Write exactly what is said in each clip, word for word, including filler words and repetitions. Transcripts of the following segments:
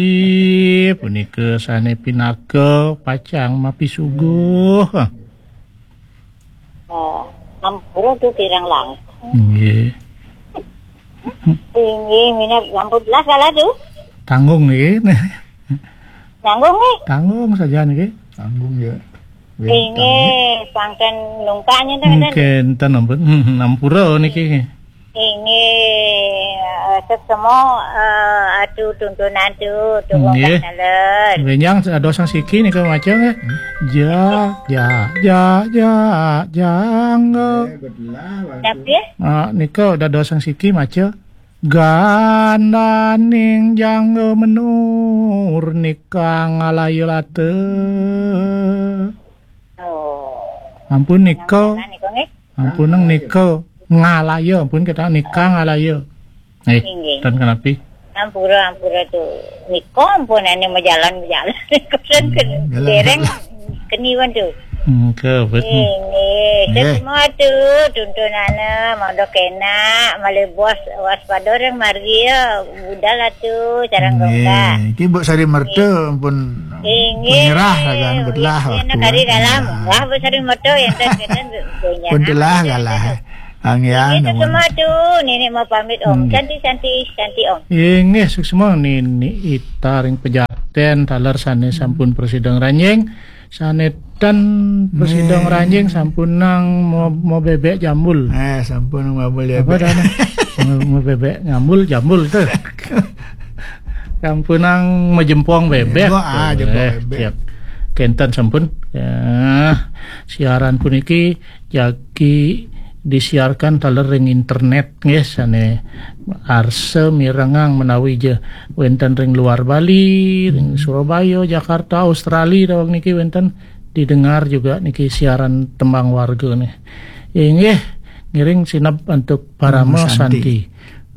Ih, punika sane pinaka pacang mapisuguh. Oh, ampura tu kirang langkung. Nggih. Inggih, minab sampun belas kala tu. Tanggung nggih. Tanggung nggih. Tanggung saja nggih. Tanggung ya. Inggih, pangken nungkaknya tu. Mungkin ten ampun. Hmm, ampura niki. Inggih, eh, sesemo, eh, atu tuntunan tu, tu Nggih. Wonten dalan. Benjang dados sang siki nika maca nggih. Ja, ja, ja, ja, jangga. Tapi ya? Ah, nika dados sang siki maca. Gandaning jangga menur nika ngalaya lata. Oh. Ampun nika. Nah, nika nggih. Ampun nang nika ngalaya, ampun kita nika ngalaya. Eh, Inggih. Tan kenapi? Ampura, ampura tu. Nika ampun ane majalan, majalan. Kusen ke Hmm, jalan. Dereng keniwan tu. Hmm, ke, betul. Inggih. Nggih. Semua tu tuntunana mondo kena, malih bos waspada ring margi ya, budal atu, carang Nggih. Gongkak. Iki Mbok Sari Merta ampun Inggih. Menyerah sagan, betulah Inggih, waktu, kari kan. Dalam. Wah, Mbok Sari Merta yang ten, ten, Betulah kalah. Angian Inggih, namun. Semua tu, Nenek mau pamit, Om. Nggih. Santi, Santi, Santi, Om. Inggih, suksma Nenek Ita ring Pejaten, taler sane sampun prasida ngranjing, sane ten prasida Nggih. Ngranjing sampun nang mau, mau bebek jambul. Eh, sampun mau bebek. Apa dah, nah? Mau, mau bebek jambul, jambul tu. Sampun nang majempong bebek. Wah, ah, jempong Eh, bebek. Siap. Kenten sampun. Ya, siaran puniki jagi disiarkan taler ring internet nggih sane arsa mirengang menawi ja wenten ring luar Bali, ring Surabaya, Jakarta, Australia daweg niki wenten didengar juga niki siaran tembang warga nih. Inggih, ngiring sineb antuk parama Om Santi. Santi.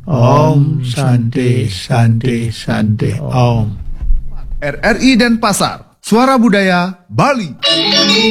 Om Santi, Santi, Santi, Om. R R I Denpasar, Suara Budaya Bali.